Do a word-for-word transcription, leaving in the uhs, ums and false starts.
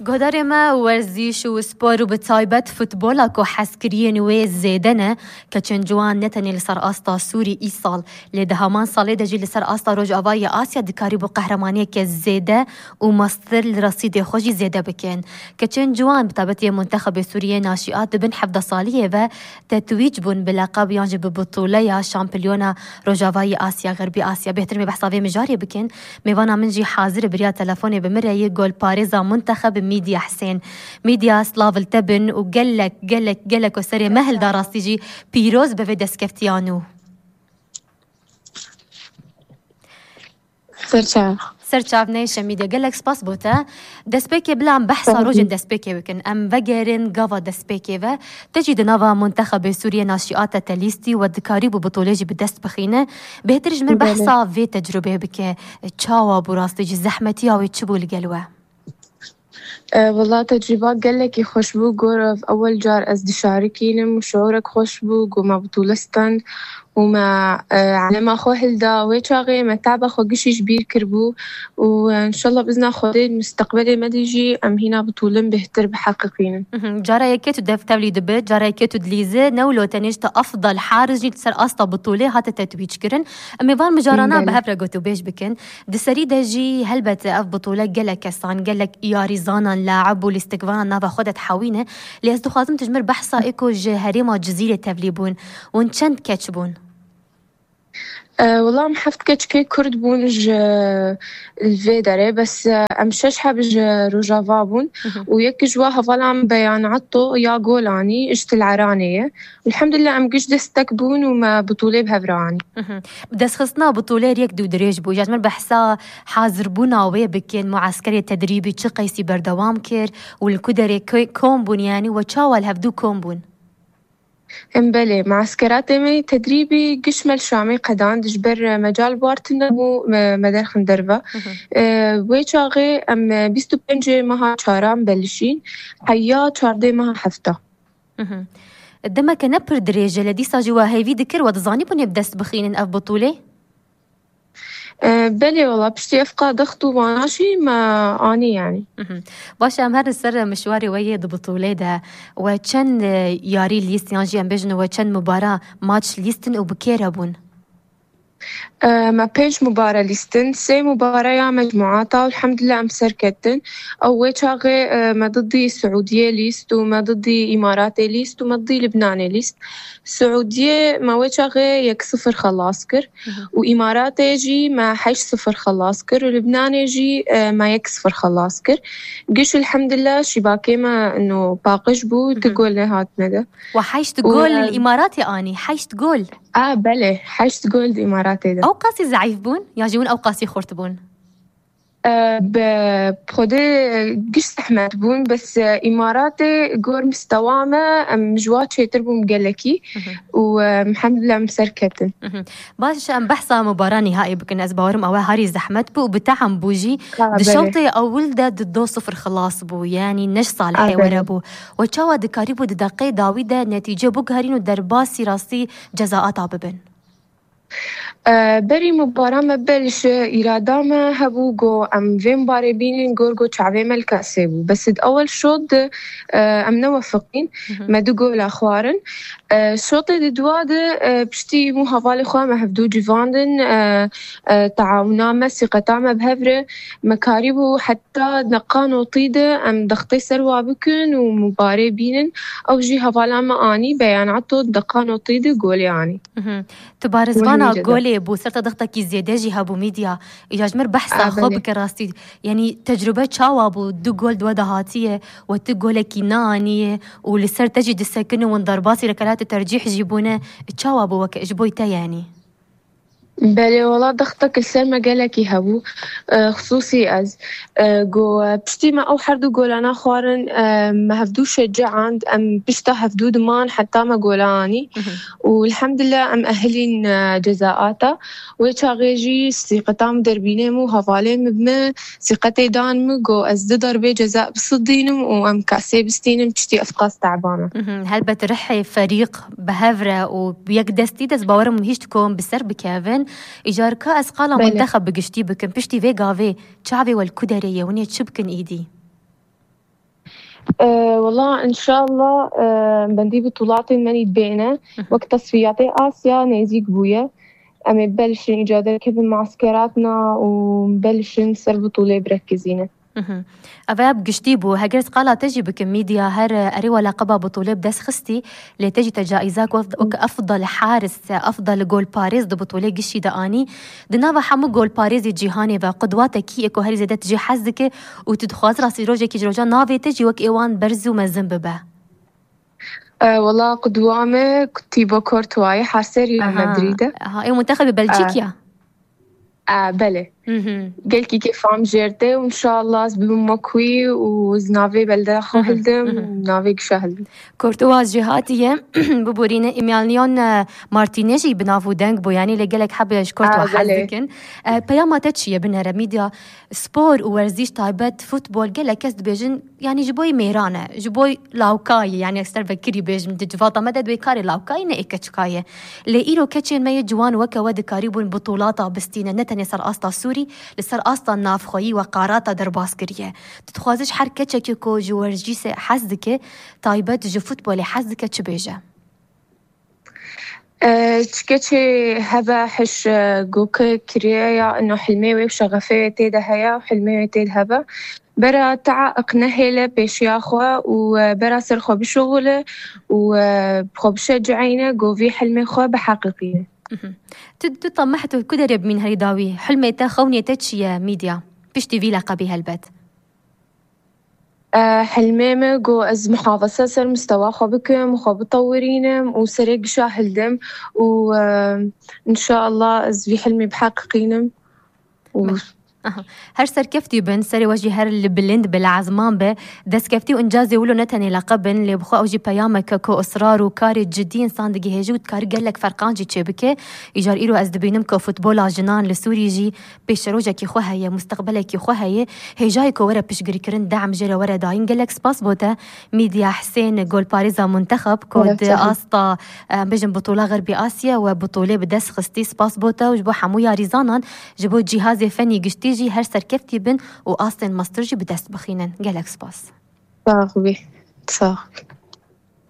Guhdarê me, werzîş û spor û bi taybet futbola ku hezkiriyên wê zêde ne, keçên ciwan ne tenê li ser asta Sûrî îsal, lê di heman salê de jî li ser asta Rojavayê Asya dikarîbû qehremaniyeke zêde û mestir li resîdê xwe jî zêde bikin. Keçên ciwan bi taybetî yê Muntexebê Sûriyê Naşîat di bin hevdeh saliyê ve tetwîc bûn bi leqeb yan jî bi butûleya şampiyona Rojavayî Asya, Xerbî Asya. Bêhtir me behsa vê mijarê bikin. Mêvana min jî hazir e, bi riya telefonê bi min re yê golparêza Muntexeb Mîdya Hisên. Mîdya, silav li te bin û gelek, gelek, gelek ku serê me hilda, rastî jî pîroz be vê destkeftiya nû. Serçav. Serçav neyşe Mîdya, gelek spas bo te. Destpêkê bila em behsa rojên destpêkê bikin. Em vegerin gava destpêkê ve. Te jî di nava Muntexebê Sûriyê Naşîat te lîstî we dikarîbû butûlê jî bi dest bixîne. Bêhtir ji min behsa vê tecrubeyê bike. Çawa bû rastî jî, zehmetiya wê çi bû li gel we? E, wela tecrûba gelekî xweş bû. Gor ev ewel car ez dişarikînim û şiûrek xweş bû. Go me butûle stend û me, e, elema xwe hilda. Wê çaxê me teba xwe gişî ji bîr kiribû û, e, înşallah bizna Xwedê musteqbelê me dî jî em hîna butûlin bêhtir biheqiqînin. Mhm. Cara yekê tu dev tevlî dibi, cara yekê tu dilîzi, ne wilo tenê ji te afdal hariz jî li ser asta butûlê hate tetwîc kirin. Em ê van mijarana bi hev re gotûbêj bikin. Di serî de jî helbet ev butûle gelek kesan, gelek yarîzanan, laib û lîstikvanan nava xwe de dihewîne. Lê ez dixwazim tu ji min behsa ê ku ji herêma Cizîrê tevlî bûn. Hûn çend keç bûn? E, wela em heft keçikê Kurd bûn ji, li vê derê, bes, e, em şeş heb ji Rojava bûn û yek ji wa hevala min Beyan Atto ya Golanî ji Til Eranê ye. Elhamdulillah em giş destek bûn û me butûlê bi hev re anî. Mhm. Destxistina butûlê rêk dû dirêj bû. Ya ji min behsa hazirbûna wê bikin, mueskerê tedrîbî çi qeysî berdewam kir û li ku derê ko-, kom bûn, yanî we çawa li hevdû kom bûn? Em belê, mueskeratê me tedrîbî giş me li Şamê qedand, ji ber, e, mecal bar tune bû, me, me derxin derve. Mhm. E, wê çaxê em, e, bîst û pêncê meha çaran belişîn, heya çardê meha hefta. Mhm. Demeke ne pir dirêj e, lê dîsa jî we hêvî dikir, we dizanîbûn ê bi dest bixînin ev butûlê? E, belê wela, piştî ev qadix û vana jî me anî, yanî. Mhm. Baş e, em herin ser mişwarê we yê di butûlê de. We çend, e, yarî lîst, yan jî em bêjin we çend mubara, maç lîstin û bi kê re bûn? E, me pênc mubare lîstin, sê mubare ya mecmuata û elhamdulillah em serketin. Ew wê çaxê, e, me didî Siûdiyê lîst û me didî Îmaratê lîst û me didî Libnanê lîst. Siûdiyê me wê çaxê yek sifir xelas kir û Îmaratê jî me heşt sifir xelas kir û Libnanê jî, e, me yek sifir xelas kir. Giş elhamdulillah şîbakê me no paqij bû, tu gol nehatine de. Wa heşt gol li Îmaratê anî, heşt gol. A, belê, heşt gol di Îmaratê de. Ew qasî zeîf bûn, ya jî hûn ew qasî xurt bûn? E, bi xwedê giş zehmet bûn, bes, e, Îmaratê gor mistewa me, em ji wa çêtir bûn gelekî û, e, elhamdulillah em serketin. Mhm. Baş e, em behsa mubara nîhaî bikin. Ez bawerim ew herî zehmet bû û bi tehm bû jî. Di şewtê ewil de di do sifir xilas bû. Yanî ne ji salihê we re bû. We çawa dikarîbû di deqê dawî de netîce biguherîn û derbasî rastî cezaata bibin? E, berî mubara me belş îrada me hebû go em vê mubarê bînin, gor go çavê me li kesê bû. Bes di ewel şot de, e, em newefiqîn, me du gola xwarin. E, şotê di dua de, e, piştî hemû hevalê xwe me hevdû civandin, e, e, taawuna me, sîqeta me bi hev re, me karîbû heta deqa notî de em dextê ser wa bikin û mubarê bînin. Ew jî hevala me anî, Beyan Ato, deqa notî de golê anî. Mhm. Tu barizvana golê bû, ser te dextekî zêde jî hebû, Mîdya. Îca ji mir behsa xwe bike rastî. Yanî tecrube çawa bû? Du gol di we de hatiye, we tu golekî neaniye û li ser te jî disekine, win derbasî rikelat tercîh jî bûne. Çawa bû weke ji bo te yanî? Belê, wela dextek li ser me gelekî hebû, e, xisûsî ez. E, go, e, piştî me ew her du golana xwarin, e, me hevdû şecihand, em pişta hevdû diman heta me gola anî. Mhm. Û elhamdulillah em ehilîn, e, cezaata. Wê çaxê jî sîqeta min derbînê min û hevalê min bi min sîqetê dan min, go ez du darbê ceza bisidînim û em kasê bistînim, piştî ev qas teba me. Mhm. Helbet rihê ferîq bi hev re û bi yek destî de ez bawerim hîç dikom bi ser bikevin. Îcar ka ez qala Belê. Muntexeb bi giştî bikim. Piştî vê gavê çavê we li ku derê ye, hûn ê çi bikin îdî? Ee, Wala, inşallah, e, bendî bitulatên me nî dibêne. Wek tesfiyatê Asya nêzîk bûye. Em ê belişin îcadeke bi maskeratna û belişin ser bitulê birekizîne. Ev bi giştî bû. Heger ez qala te jî bikim, Mîdya, her erê we leqeba bitulê bi dest xistî, lê te jî te caîza ku wek efdal haris, efdal golparêz di bitulê giştî de anî. Di nava hemû golparêzê cîhanê ve qudwa te kî ye ku herî zêde tu jê hez dike û tu dixwazî rastî rojekî ji rojan navê te jî wek ê wan berz û mezin bibe? E, wala qudwa me Thibaut Courtois ye, harserî Real Madrid e. Aha, ê muntexebê Belçîk ya? E, belê. Gelkî kêfam jêr tê û inşallah ez bibim wek wî û ez navê belde xwe hildim, navê gişa hildim. Courtois jî hatiye biborîne Emiliano, e, Martinez jî bi nav û deng bû, yanî lê gelek hebe ji Courtois hez dikin. E, peyama te çi ye binere Mîdya? Spor û werzîş taybet futbol gelek kes dibêjin, yanî ji bo yê mêran e, ji bo lawkayê, yanî ekser vekirî bêjim, di civata me de dibê karê lawkayê ne ê keçika ye. Lê îro keçên me yê ciwan weke we dikarîbûn bitûlata bistîne, ne tenê ser asta Sûrî, li ser asta navxweyî we qarata derbas kiriye. Tu dixwazî ji her keçekê ku ji werjîsê hez dike, taybet ji futbolê hez dike, çi bêje? E, çi keçê hebe hiş, e, goke kiriye ya ino hilmê wê û şexefê wê tê de heye û hilmê wê tê de hebe. Bera teaq nehêle pêşiya xwe û, e, bera ser xwe bişuxule û, e, xwe bişecihîne, govî hilmê xwe biheqîqîne. Tu, tu tameh tu ku derê bimîn herî dawî? Hilmê te, xewnê te çi ye, Mîdya? Piştî vî leqebî helbet. E, hilmê me ku ez muhafeze ser mustewa xwe bikim, xwe bitewirînim û serê gişa hildim û, e, inşallah ez vî hilmê biheqîqînim û Aha. Her serkeftî bin, serê we jî her li bilind be, li ezman be. Destkeftî û încazê wilo ne tenê leqeb in, lê bi xwe ew jî peyameke ku israr û karê cidî însan digihêje û dikare gelek ferqan jî çêbike. Îcar îro ez dibînim ku futbola jinan li Sûrî jî pêşerojekî xwe heye, musteqbelekî xwe heye. Hêjayê ku were piştgirîkirin, dehm jê re were dayîn. Gelek spas bo te, Mîdya Hisên, golparêza muntexeb, ku Evet, di sağ ol. asta, em bêjin, Bitola Xerbî Asya we bitolê bi dest xistî. Spas bo te û ji bo hemû yarîzanan, ji bo cîhazê fenî giştî jî her serkeftî bin û astên mestir jî bi dest bixînin. Gelek spas. Sax bî. Sax bî.